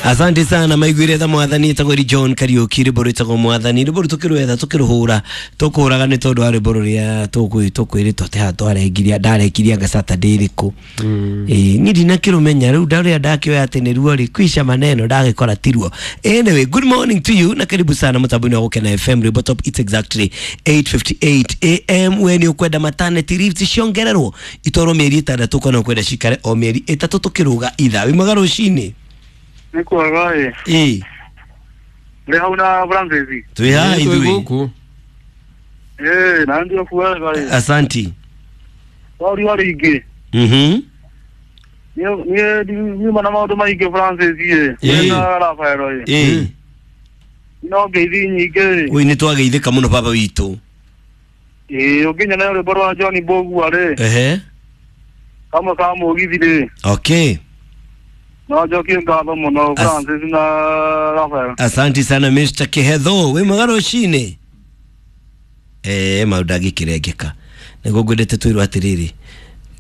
Asante sana maiguire tha mwathani etagwo ri John Kariuki rwimbo rwĩtagwo mwathani rwimbo rũu tũkĩrwetha tũkĩrũhũra tũkũraga nĩ tondũ wa rwimbo rũrĩa tũkwĩrĩtwo atĩ haha twarengiria ndarekirie anga Saturday ĩrĩkũ. Ĩĩ niĩ ndinakĩrũmenya rĩu ndarĩa ndakĩoya atĩ nĩruo rĩ kwisha maneno ndagĩkora tiruo. Anyway, good morning to you na karibu sana mũtambo-inĩ wa Gũkena FM rwimbo top. It's exactly 8:58 am. We nĩ ũkwenda maternity leaves ciongererwo itwarwo mĩeri 6 kana ũkwenda cikare o mĩeri 3 tũkĩrũga ithaa. Wĩ mwega rũcinĩ? Nĩ kwega ĩ. Ĩĩ. Ndĩ hau na Francis. Twĩ haha Twĩ ithuĩ. gũkũ. Ĩ na ndio kwega ĩ. Asanti. Wauri wa rĩngĩ. Niĩ nyuma na maũndũ maingĩ Francis ĩ. Ĩ. Na Rafael ĩ. Ĩĩ. No ngeithi nyingĩ ĩ. Oi nĩ twageithĩka mũno baba witũ. Ĩ ũngĩnyona rwĩmbo rwa John Mbũgua rĩ. Ehe. Kamwe ka mũgithi rĩ. Okay. No njokie ngatho mũno Francis na Rafael. Asanti sana Mr. Kihedho. Wĩ mwega rũcinĩ? Maũndũ angĩkĩrengeka. Nĩguo ngwendete twĩrwo atĩrĩrĩ,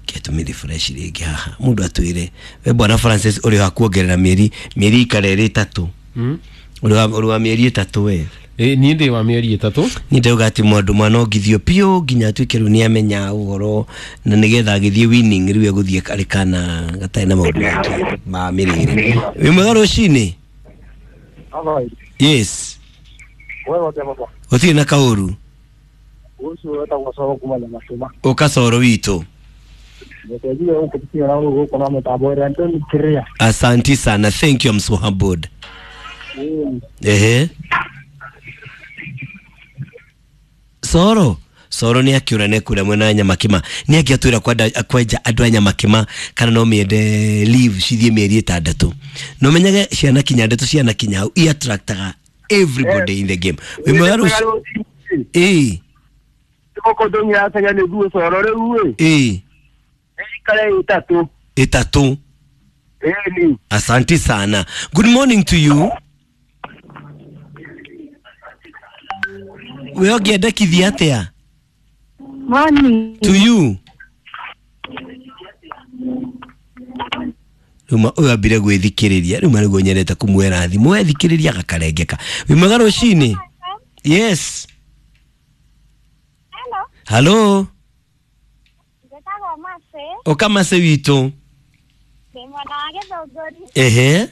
ketũmĩre fresh rĩngĩ haha. Mũndũ atwĩre, we bwana Francis ũrĩ wa kuongerera mĩeri, mĩeri ikare ĩrĩ 3. Ũrĩ wa mĩeri 3 we. Niĩ ndĩ wa mĩeri 3. Niĩ ndauga atĩ mwandũ mwana ongithio biũ nginya atuĩke rĩu nĩamenya ũhoro na nĩgetha agĩthiĩ winning rĩu egũthiĩ arĩ kana gatarĩ na maũndũ maingĩ ma mĩrĩre. Wĩ mwega rũcinĩ? Yes. Gũtirĩ na kaũru. Ũcio wetagwo Coro kuma Nyamasũma. Ũka Coro witũ. Nĩtwendire gũkũtiga na gũkũ na mũtambo ĩrĩa Anthony Kiria. Asanti sana. Thank you, I'm so humbled. Ehe. Soro Soro nĩ akĩũra nĩ kũrĩa mwena wa Nyamakima. Nĩ angĩatwĩra kwenja andũ a Nyamakima kana no mĩende leave cithiĩ mĩeri 6. No menyage ciana kinya ndeto ciana kinya hau i attractaga everybody in the game. Wĩ mwega rũci? Ĩĩ. Gũkũ ndũng'iracaria nĩ guo Coro rĩu ĩ. Ĩĩ. Ĩikare 3. 3. Ĩni. Asante sana. Good morning to you. We ũngĩendekithia atĩa? Morning. To you. Rĩu ũyũ ambire gwĩthikĩrĩria, rĩu nĩguo nyendete kũmuoera thimũ, ethikĩrĩria agakarengeka. Wĩ mwega rũcinĩ? Yes. Hello. Hello. Njĩtagwo Mercy. Ũka Mercy witũ. Ndĩ mwena wa Gĩthũngũri. Ehe.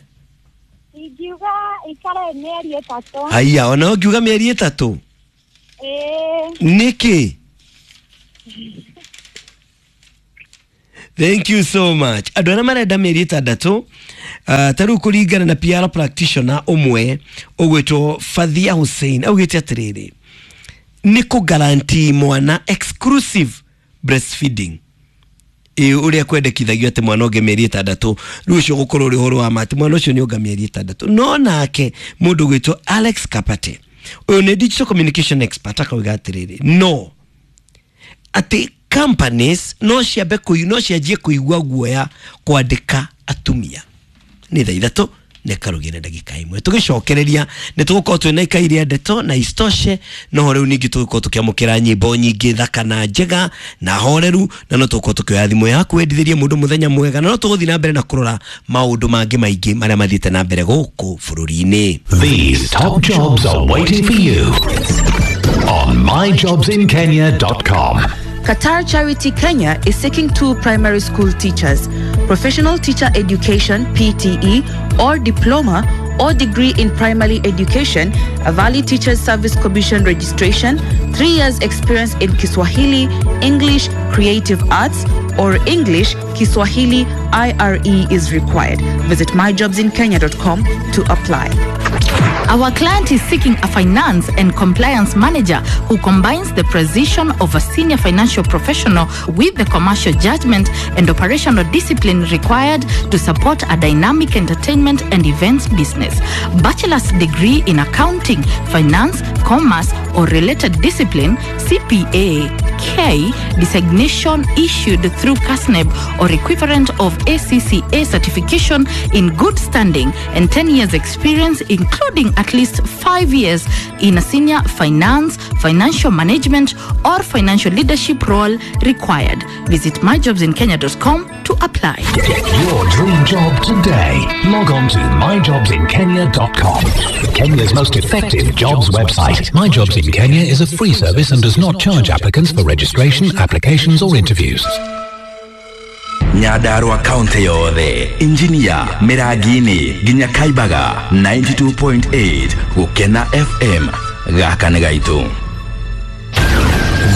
Ingiuga ikare mĩeri 3. Haiya, ona ũngiuga mĩeri 3? Ĩĩ. Nĩkĩ? Thank you so much. Andũ arĩa marenda mĩeri 6, ta rĩu kũringana na PR practitioner ũmwe ũgwĩtwo Fathia Hussein augĩte atĩrĩrĩ, nĩ kũ guarantee mwana exclusive breastfeeding. Ĩ ũrĩa kwendekithagio atĩ mwana onge mĩeri 6, rĩu ũcio ũgũkorwo ũrĩ ũhoro wa ma atĩ mwana ũcio nĩ onga mĩeri 6. No nake mũndũ ũgwĩtwo Alex Kapate, ũyũ nĩ digital communication expert, akauga atĩrĩrĩ, no atĩ companies no ciambe no cianjie kũigua guoya kwandĩka atumia. Nĩ thaa 3 nĩ karũgĩre ndagĩka 1. Tũgĩcokereria nĩ tũgũkorwo twĩna ikai rĩa ndeto na isitoshe, no rĩu ningĩ tũgũkorwo tũkĩamũkĩra nyĩmbo nyingĩ thaka na njega na horeru, na no tũgũkorwo tũkĩoya thimũ yaku wendithĩrie mũndũ mũthenya mwega, na no tũgũthiĩ na mbere na kũrora maũndũ mangĩ maingĩ marĩa mathiĩte na mbere gũkũ bũrũri-inĩ. These top jobs are waiting for you on myjobsinkenya.com. Qatar Charity Kenya is seeking 2 primary school teachers, professional teacher education PTE or diploma or degree in primary education, a valid Teachers Service Commission registration, 3 years experience in Kiswahili, English, Creative Arts, or English, Kiswahili, IRE is required. Visit myjobsinkenya.com to apply. Our client is seeking a finance and compliance manager who combines the precision of a senior financial professional with the commercial judgment and operational discipline required to support a dynamic entertainment and events business. Bachelor's degree in accounting, finance, commerce, or related discipline, CPA, K designation issued through KASNEB or equivalent of ACCA certification in good standing, and 10 years experience, including at least 5 years in a senior finance, financial management, or financial leadership role required. Visit myjobsinkenya.com to to apply. Get your dream job today. Log on to myjobsinkenya.com. Kenya's most effective jobs website. My Jobs in Kenya is a free service and does not charge applicants for registration, applications, or interviews. Nyandarua kaunti yothe, Injinia, Mirangini nginya Kaibaga, 92.8 Gukena FM. Gaka nĩ gaitũ.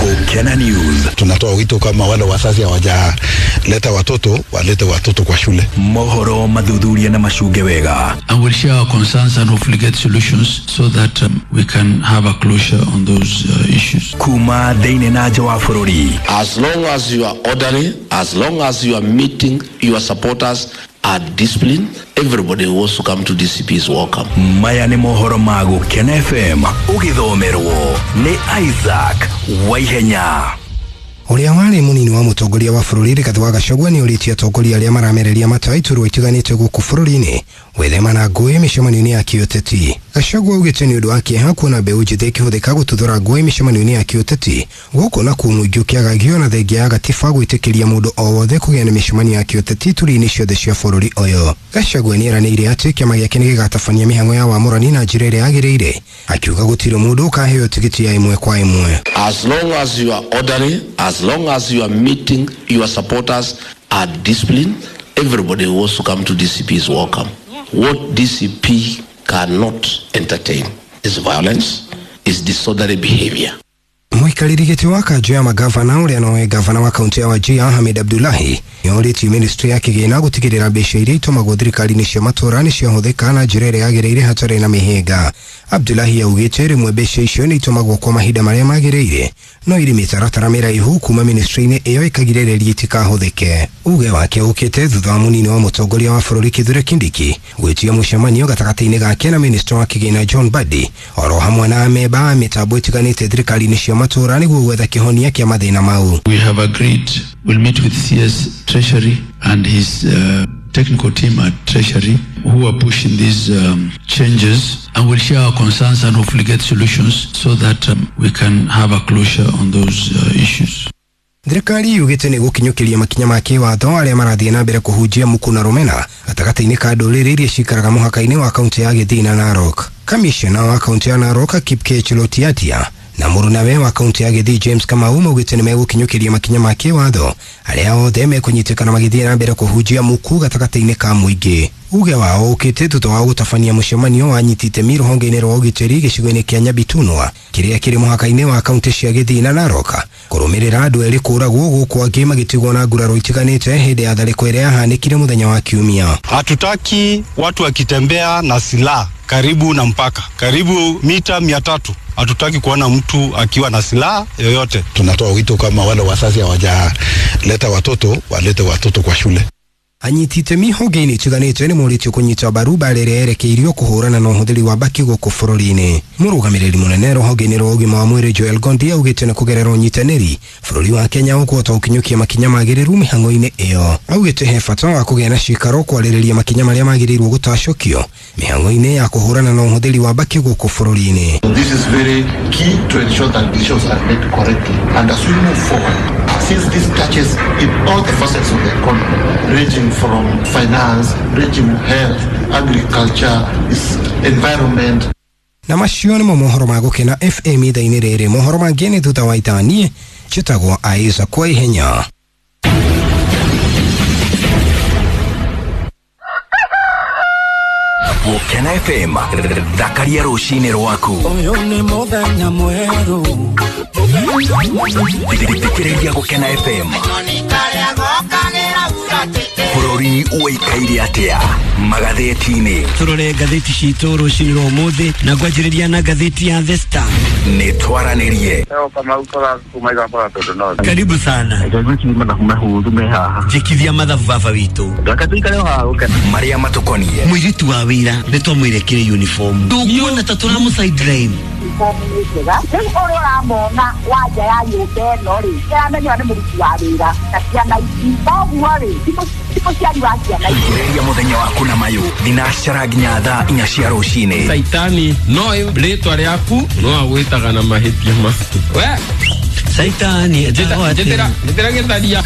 Gukena News. Tunatoa wito kama wale wazazi hawajaleta watoto, walete watoto kwa shule. Mohoro mathuthuria na macunge wega. And we'll share our concerns and hopefully get solutions so that we can have a closure on those issues. Kuma thĩinĩ na nja wa bũrũri. As long as you are orderly, as long as you are meeting your supporters are disciplined, everybody who wants to come to DCP is welcome. Maya nĩ mohoro ma Gukena FM ũgĩthomerwo nĩ Isaac Waihenya. Ũrĩa warĩ mũnini wa mũtongoria wa bũrũri Rigathĩ wa Gachagua nĩ ũrĩtie atongoria arĩa maramereria mata iturwa itiganĩte gũkũ bũrũri-inĩ gwĩthema na ngũĩ mĩcemanio-inĩ ya kĩũteti. Gachagua augĩte nĩ ũndũ wa kĩeha kuona mbeũ njĩthĩ ĩkĩhũthĩka gũtuthũra ngũĩ mĩcemanio-inĩ ya kĩũteti gũkũ nakuo mũingĩ ũkĩagagio na thengia ya gatiba gwĩtĩkĩria mũndũ o wothe kũgĩa na mĩcemanio ya kĩũteti ituri-inĩ ciothe cia bũrũri ũyũ. Gachagua nĩeranĩire atĩ kĩama gĩake nĩgĩgatabania mĩhang'o ya wamũrani na njĩra ĩrĩa yagĩrĩire, akiuga gũtirĩ mũndũ ũkaheo tigiti ya ĩmwe kwa ĩmwe. As long as you are orderly, as long as you are meeting your supporters are disciplined, everybody who wants to come to DCP is welcome. What DCP cannot entertain is violence, is disorderly behavior. Mũikarĩri gĩtĩ wa kanjũ ya magavana ũrĩa nowe gavana wa kaunti ya Wajir Ahmed Abdullahi nĩorĩtie ministry ya kĩgĩna gũtigĩrĩra mbeca iria itũmagwo thirikari-inĩ cia matũũra nĩ ciahũthĩka na njĩra ĩrĩa yagĩrĩire hatarĩ na mĩhĩnga. Abdullahi augĩte rĩmwe mbeca icio nĩ itũmagwo kwa mahinda marĩa magĩrĩire no irĩ mĩtaratara mĩraihu kuma ministry-inĩ ĩyo ĩkagirĩrĩria itikahũthĩke. Uge wake ũkĩte thutha wa mũnini wa mũtongoria wa bũrũri Kithure Kindiki gwĩtia mũcemanio gatagatĩ-inĩ gake na minister wa kĩgĩna John Mbadi oro hamwe na amemba a mĩtambo ĩtiganĩte thirikari-inĩ cia matũũra nĩguo gwetha kĩhonia kĩa mathĩna mau. We have agreed we'll meet with CS Treasury and his technical team at Treasury who are pushing these changes, and we'll share our concerns and hopefully get solutions so that we can have a closure on those issues. Thirikari yugĩte nĩ gũkinyũkĩria makinya ma kĩwatho arĩa marathiĩ na mbere kũhunjia muku na rũmena gatagatĩ-inĩ ka ndũrĩrĩ iria cikaraga mũhaka-inĩ wa kaunti ya Gĩthii na Narok. Kamishna wa kaunti ya Narok Kipkech Lotiatia na mũrunawe wa kaunti ya Gĩthii James Kamau maugĩte nĩ megũkinyũkĩria makinya ma kĩwatho arĩa othe mekũnyitĩkana magĩthiĩ na mbere kũhunjia muku gatagatĩ-inĩ ka mũingĩ. Uge wao ũkĩte thutha wa gũtabania mũcemanio wa anyiti itemi rũhonge-inĩ rwa ũgitĩri gĩcigo-inĩ kĩa Nyabitunwa kĩrĩa kĩrĩ mũhaka-inĩ wa kaunti cia Gĩthii na Narok kũrũmĩrĩra andũ erĩ kũragwo gũkũ angĩ magĩtigwo na nguraro itiganĩte hĩndĩ ya tharĩko ĩrĩa yahanĩkire mũthenya wa Kiumia. Hatutaki watu wakitembea na silaha karibu na mpaka, karibu mita 300. Hatutaki kuona mtu akiwa na silaha yoyote. Tunatoa wito kama wale wazazi hawajaleta watoto, walete watoto kwa shule. Anyiti itemi honge-inĩ itiganĩte nĩ morĩtio kũnyita mbaru mbara ĩrĩa yerekeirio kũhũrana na ũhũthĩri wa mbakĩ gũkũ bũrũri-inĩ. Mũrũgamĩrĩri mũnene rũhonge-inĩ rwa ũgima wa mwĩrĩ Joel Gondi augĩte nĩ kũgerera ũnyitanĩri bũrũri wa Kenya ũkũhota gũkinyũkia makinya magĩrĩru mĩhang'o-inĩ ĩyo. Augĩte he bata wa kũgĩa na cikaro kwarĩrĩria makinya marĩa magĩrĩirwo gũtacũkio mĩhang'o-inĩ ya kũhũrana na ũhũthĩri wa mbakĩ gũkũ bũrũri-inĩ. This is very key to ensure that decisions are made correctly, and as we move forward, since this touches in all the facets of the economy, ranging from finance, ranging health, agriculture, environment. Na macio nĩmo mohoro ma Gũkena FM ithaa-inĩ rĩrĩ. Mohoro mangĩ nĩ thutha wa ithaa. Niĩ njĩtagwo Isaac Waihenya. Gũkena FM, thakaria rũcinĩ rwaku. Ũyũ nĩ mũthenya mwerũ. Thikĩrĩria Gũkena FM. Bũrũri ũikaire atĩa magathĩti-inĩ? Tũrore ngathĩti citũ rũcinĩ rwa ũmũthĩ na ngwanjĩrĩria na ngathĩti ya The Star. Nĩ twaranĩrie. Karibu sana. Njĩkithia mathabu baba witũ. Marĩa matũkoniĩ. Mũirĩtu wa wĩra nĩ twamwĩrekire uniform. Ndũkuona ta tũramũ sideline. Njega rĩu ũrĩa ũramona wanja ya nyũmba ĩno rĩ ĩramenywo nĩ mũruti wa wĩra na ciana ici koguo rĩ ti mũciari wa ciana ici. Thikĩrĩria mũthenya waku na mayũ thinacara nginya thaa 4 cia rũcinĩ. Saitani no rĩtwa rĩaku no agwĩtaga na mahĩtia maku. We Saitani njĩtĩra gĩtharia.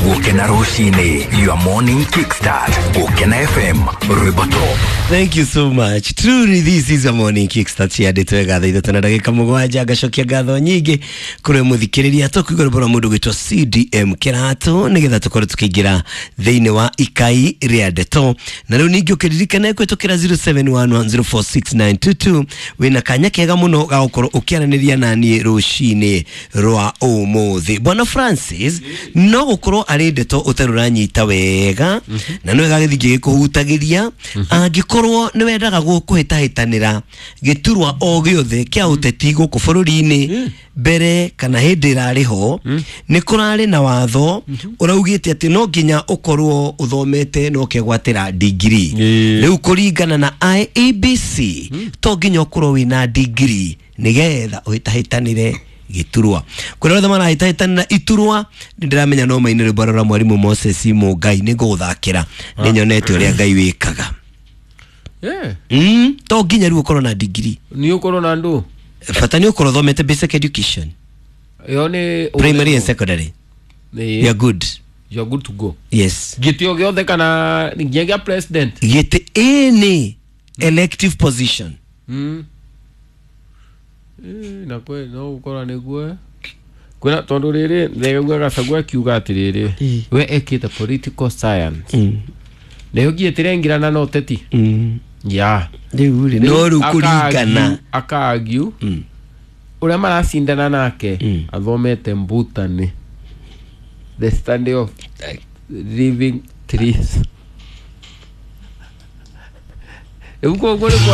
Gukena rucini, your morning kickstart. Gukena FM, rwimbo top. Thank you so much. Truly this is a morning kickstart ya ndeto ya thaa ithatũ na ndagĩka mũgwanja. Ngacokia ngatho nyingĩ kũrĩ mũthikĩrĩria tũkũigua rwĩmbo rwa mũndũ gwĩtwo CDM Kĩratũ nĩgetha tũkorwo tũkĩingĩra thĩinĩ wa ikai rĩa ndeto. Na rĩu ningĩ ũkĩririkane kũhĩtũkĩra 0711046922 wĩna kanya kega mũno ga gũkorwo ũkĩaranĩria na niĩ rũcinĩ rwa ũmũthĩ. Bwana Francis, no gũkorwo arĩ ndeto ũtarĩ ũranyita wega na nĩ wega gĩthiĩ gĩkũhutagĩria angĩkorwo nĩ wendaga kũhĩtahĩtanĩra gĩturwa o gĩothe kĩa ũteti gũkũ bũrũri-inĩ mbere kana hĩndĩ ĩrarĩ ho, nĩ kũrarĩ na watho ũraugĩte atĩ no nginya ũkorwo ũthomete na ũkegwatĩra degree. Rĩu kũringana na IEBC to nginya ũkorwo wĩna degree nĩgetha ũhĩtahĩtanĩre gĩturwa. Kũrĩa othe marahĩtahĩtanĩra iturwa nĩ ndĩramenya no maine rwĩmbo rwa mwarimũ Moses Mũngai nĩ ngũgũthakĩra, nĩ nyonete ũrĩa Ngai wĩkaga. To nginya rĩu ũkorwo na degree. Nĩ ũkorwo na ndũ bata nĩ ũkorwo ũthomete basic education ĩyo nĩ primary and secondary. You are good. You are good to go. Yes. Gĩtĩ o gĩothe kana nginya gĩa president? Gĩtĩ any elective position. Na kwe no gũkorwo nĩguo kwĩna tondũ rĩrĩ thegua Gachagua akiuga atĩrĩrĩ we ekĩte political science nayo ngiĩtĩrengirana na ũteti ya rĩu rĩ no rĩu kũringana aka-argue ũrĩa maracindana nake athomete mbutani, the study of living trees. Rĩu koguo nĩ kuonania